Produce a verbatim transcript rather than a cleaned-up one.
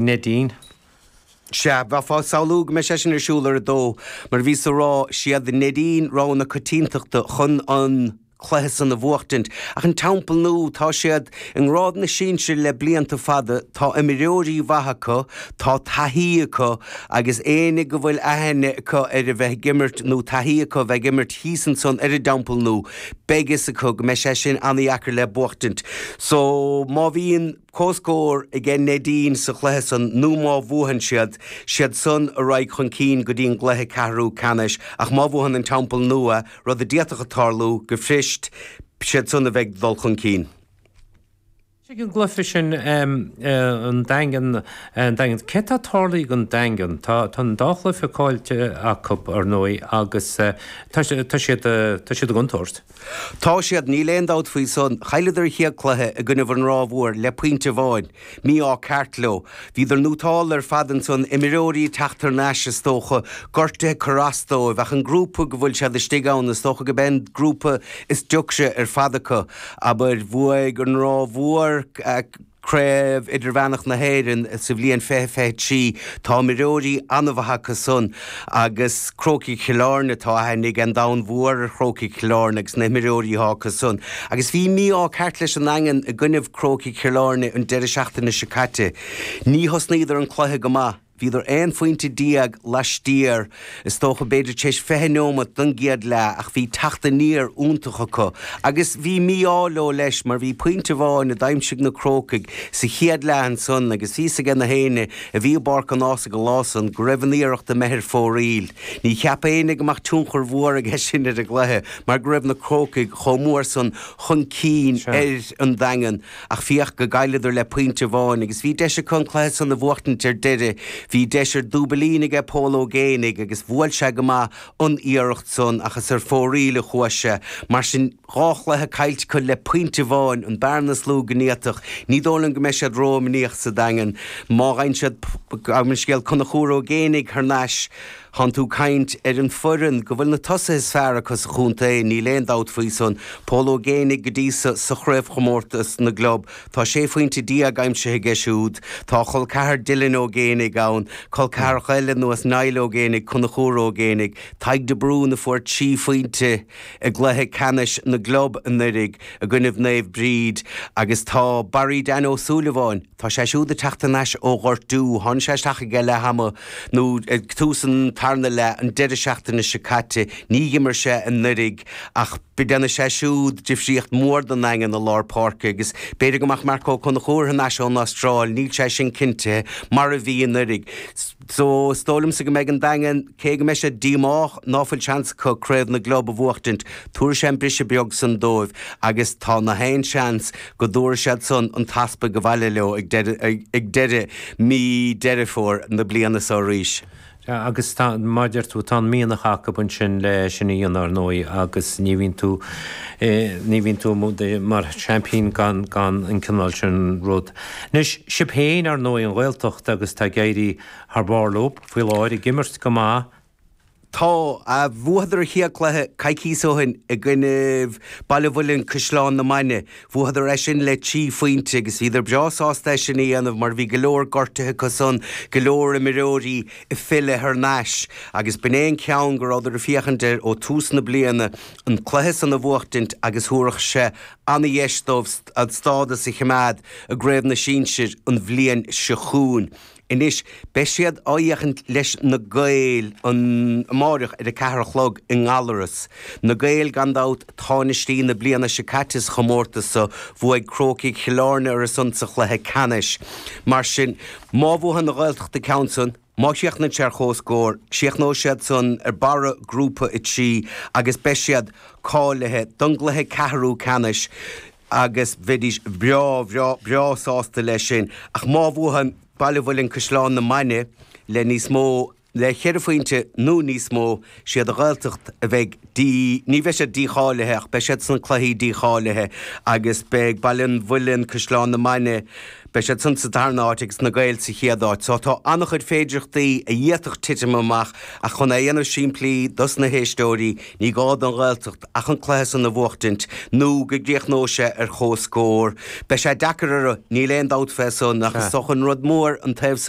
Neidín. Sea, bheifeá ag samhlú go mbeidh sé sin ar siúl ar a dó, mar a bhíos a rá, siad Neidín rogha na coitiantachta chun an cluiche san a bhuachtaint. Ach an Teampall Nua, tá siad i ngrád na sinsir le blianta fada, tá imreoirí mhaithe acu, tá taithí acu agus éinne go bhfuil aithne acu ar a bheith ag imirt nó taithí acu a bheith ag imirt thíos ansan ar an dTeampall Nua, beidh fhios acu go mbeidh sé sin an-dheacair le buachtaint. So, má bhíonn comhscór aige Neidín sa chluiche san nó má bhuann siad, siad san a raghaidh chun cinn go dtí an gcluiche ceathrú ceannais ach má bhuann an Teampall Nua, rud a d'fhéadfadh a tarlú go fuirist, siad san a bheidh ag dul chun cinn. Ag an gcluiche sin, an Daingean, an Daingean, cé tá tarlaithe don Daingean? Tá tá an dá chluiche caillte acu, ar ndóigh, agus tá tá siad tá siad i gcontúirt. Tá siad, níl aon dabht faoi san. Chailleadar an chéad cluiche i gcoinnibh an Ráth Mhóir le pointe amháin. Mí-ádh ceart leo. Bhíodar nótálta ar fad ansan, imreoirí ag teacht thar n-ais is dócha, gortuithe ag cur as dóibh, ach an grúpa go bhfuil siad istigh ann, is dócha go b'é an grúpa is deacra ar fad acu. Abair, bhuaigh an Ráth Mhór, Craobh Idirmheánach na hÉireann sa bhliain fiche fiche trí. Tá imreoirí an-mhaith acu san agus Crócaigh Chill Airne, tá aithne ag an domhan mhór ar Chrócaigh Chill Airne agus na himreoirí atá acu san. Agus bhí mí-ádh ceart leis an nDaingean i gcoinnibh Crócaigh Chill Airne an deireadh seachtaine seo caite. Ní thosnaíodar an cluiche go maith. Bhíodar aon phointe déag laistiar, is dócha, b'fhéidir tar éis fiche neomat don gcéad leath ach bhí teacht aniar iontach acu agus bhí mí-ádh leo leis mar bhí pointe amháin a d'aimsigh na Crócaigh sa chéad leath ansan agus bhí fhios aige na héinne a bhí i bPáirc an Ághasaigh an lá san go raibh an iarracht imithe ar fóraoil. Ní cheap éinne go mbeadh tionchar mhór aige sin ar an gcluiche mar go raibh na Crócaigh chomh mór san chun cinn ar an Daingean. Ach féach go gcailleadar le pointe amháin agus bhí deis acu an cluiche san a bhuachtaint ar deireadh. Bhí deis ar dúbailín aige Pól Ó Géibheannaigh agus bhuail sé go maith an iarracht san ach is ar fóraoil a chuaigh sé. Mar sin, dhá chluiche caillte acu le pointe amháin, an bearna is lú go bhféadfadh. Ní dóigh liom go mbeidh siad ró-imníoch sa Daingean. Má fhaigheann siad, gabh mo leithscéal, Conchúr Ó Géibheannaigh thar n-ais, Thánn tú caint ar an foireann go bhfuil na tosaithe is fearr acu sa chontae, níl aon dabht faoi san. Pól Ó Géibheannaigh go dtí so sa chraobhchomórtas na gclub, tá sé phointe déag aimsithe aige siúd. Tá a chol ceathar Dylan Ó Géibheannaigh ann, col ceathracha eile anuas Niall Ó Géibheannaigh, Conchúr Ó Géibheannaigh, Tadhg de Brún a fuair trí phointe i gcluiche ceannais na gclub anuraidh i gcoinnibh Naomh Bríd agus tá Barry Dan Ó Súilleabháin, Tá sé siúd ag teacht thar n-ais ó ghortú. Tháinig sé isteach ag leath ama, nó ag tús an tarna leath, an deireadh seachtaine seo caite. Ní dh'imir sé anuiridh ach déanfaidh sé siúd difríocht mhór don nDaingean i lár páirce agus b'fhéidir go mbeadh Marc Ó Conchúir thar n-ais ón Astráil, níl sé sin cinntithe, mar a bhí anuiridh. So, is dóigh liomsa go mbeidh an Daingean, cé go mbeidh siad díomách ná fuil seans acu Craobh na gClub a bhuachtaint, tabharfaidh sé an briseadh beag san dóibh agus tá na haon seans go dtabharfaidh siad san an teaspag abhaile leo ag ag deireadh mí Deireadh Fómhair na bliana seo arís. Agus tá, mar a deir tú, tá an mianach acu ansin le sin a dhéanamh ar ndóigh agus ní bhíonn tú, ní bhíonn tú mar seaimpín gan gan an cineál sin rud. Anois, sibh féin ar ndóigh an Ghaeltacht agus tá ag éirí thar barr leo faoi láthair, ag imirt go maith. Tá. Bhuadar an chéad cluiche coicíos ó shin i gcoinnibh Baile Mhuilinn, Caisleán na Mainge. Bhuadar é sin le trí phointe agus bhíodar breá sásta é sin a dhéanamh mar bhí go leor gortuithe acu san, go leor imreoirí ag filleadh thar n-ais agus b'in é an ceann go rabhadar ag féachaint air ó tús na bliana, an cluiche san a bhuachtaint agus thabharfadh sé ana-dheis dóibh an stádas a chimeád i gCraobh na Sinsir an bhliain seo chugainn. Anois, beidh siad á fhéachaint leis na Gaeil an amáireach ar a ceathair a chlog i nGallaras. Na Gaeil, gan dabht, tánaistí na bliana seo caite sa chomórtas so, bhuaigh Crócaigh Chill Airne orthu san sa chluiche ceannais. Mar sin, má bhuann an Ghaeltacht an ceann san, má chríochnaíonn sé ar chomhscór, críochnóidh siad san ar barra grúpa a trí agus beidh siad cáilithe don gcluiche ceathrú ceannais agus bheidís breá, breá, breá sásta leis sin. Ach má bhuann. Baile Mhuilinn Caisleán na Mainge le níos mó le ceithre phointe nó níos mó, siad an Ghaeltacht a bheidh dí, ní bheidh siad dícháilithe ach beidh siad sna cluichí dícháilithe agus beidh Baile an Mhuilinn, Caisleán na Mainge, beidh siad san sa darna háit agus na Gaeil sa chéad áit. So tá an-chuid féidearthachtaí a d'fhéadfadh titim amach ach chun é a dhéanamh simplí dos na héisteoirí, ní gá don Ghaeltacht ach an cluiche san a bhuachtaint nó go gcríochnóidh sé ar comhscór. Beidh sé deacair orthu, níl aon dabht fé san, ach is dócha an rud mór an taobh so